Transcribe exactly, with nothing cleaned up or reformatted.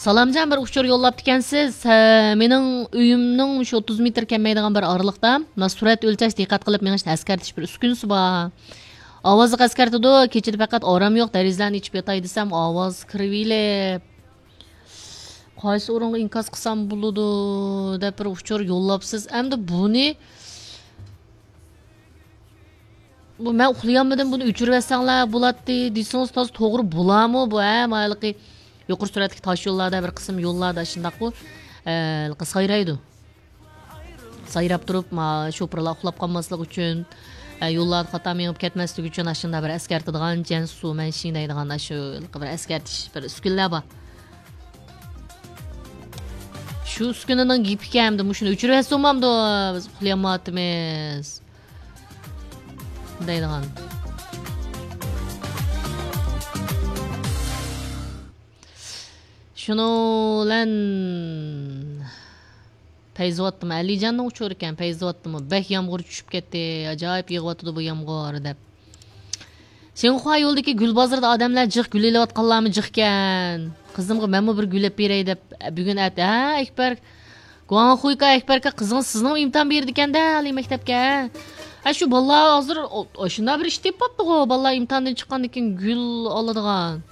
سالامجان، بىر ئۇچۇر يوللاپتىكەنسىز. ھە، مېنىڭ ئۆيۈمنىڭ مۇشۇ ئوتتۇز مېتىر كەلمەيدىغان بىر ئارىلىقتا، مانا، سۈرئەت ئۆلچەش، دىققەت قىلىپ مېڭىش، ئەسكەرتىش بىر ئۈسكۈنىسى بار. ئاۋازلىق ئەسكەرتىدۇ، كېچىدە پەقەت ئارام يوق، دېرىزىلەرنى ئېچىپ ياتاي دېسەم، ئاۋاز كىرىۋېلىپ. قايسى ئورۇنغا ئىنكاس قىلسام بولىدۇ، دەپ بىر ئۇچۇر يوللاپسىز. ئەمدى بۇنى بۇ مەن ئۇخلىيالمىدىم، بۇنى ئۆچۈرۈۋەتسەڭلار بولاتتى دېسىڭىز، تازا توغرا بولامۇ بۇ، ھە؟ مايلىقى يۇقىرى سۈرئەتلىك تاش يوللاردا، بىر قىسىم يوللاردا شۇنداققۇ، ئە، سايرايدۇ. سايراپ تۇرۇپ، ما، شوپۇرلار ئۇخلاپ قالماسلىقى ئۈچۈن، ئە، يوللاردا خاتا مېڭىپ كەتمەسلىكى ئۈچۈن ئاشۇنداق بىر ئەسكەرتىدىغان جەنسۇ مەنشىڭ دەيدىغان ئاشۇ بىر ئەسكەرتىش، بىر ئۈسكۈنىلەر بار. شۇ ئۈسكۈنىنىڭ گېپىكەن، ئەمدى مۇشۇنى ئۆچۈرۈۋەتسە بولمامدۇ، بىز ئۇخلىيالمايۋاتىمىز. دەيدىغان. شۇنىڭ بىلەن پەيزىۋاتتىمۇ، ئەلىجاننىڭ ئۇچۇرى ئىكەن، پەيزىۋاتتىمۇ بەك يامغۇر چۈشۈپ كەتتى، ئاجايىپ يېغىۋاتىدۇ بۇ يامغۇر، دەپ. شىنخۇا يولىدىكى گۈل بازىرىدا ئادەملەر جىق، گۈل ئېلىۋاتقانلارمۇ جىق ئىكەن. قىزىمغا مەنمۇ بىر گۈل ئېلىپ بېرەي دەپ، بۈگۈن ئەت-، ھە، ئەكبەر، گۇاڭخۇيكا ئەكبەركە، قىزىڭىز سىزنىڭ ئىمتىھان بېرىدىكەن-دە، ئالىي مەكتەپكە. ھە، شۇ بالىلار ھازىر، ئو-، ئاشۇنداق بىر ئىش تېپىپ باپتىغۇ، بالىلار ئىمتىھاندىن چىققاندىن كېيىن گۈل ئالىدىغان.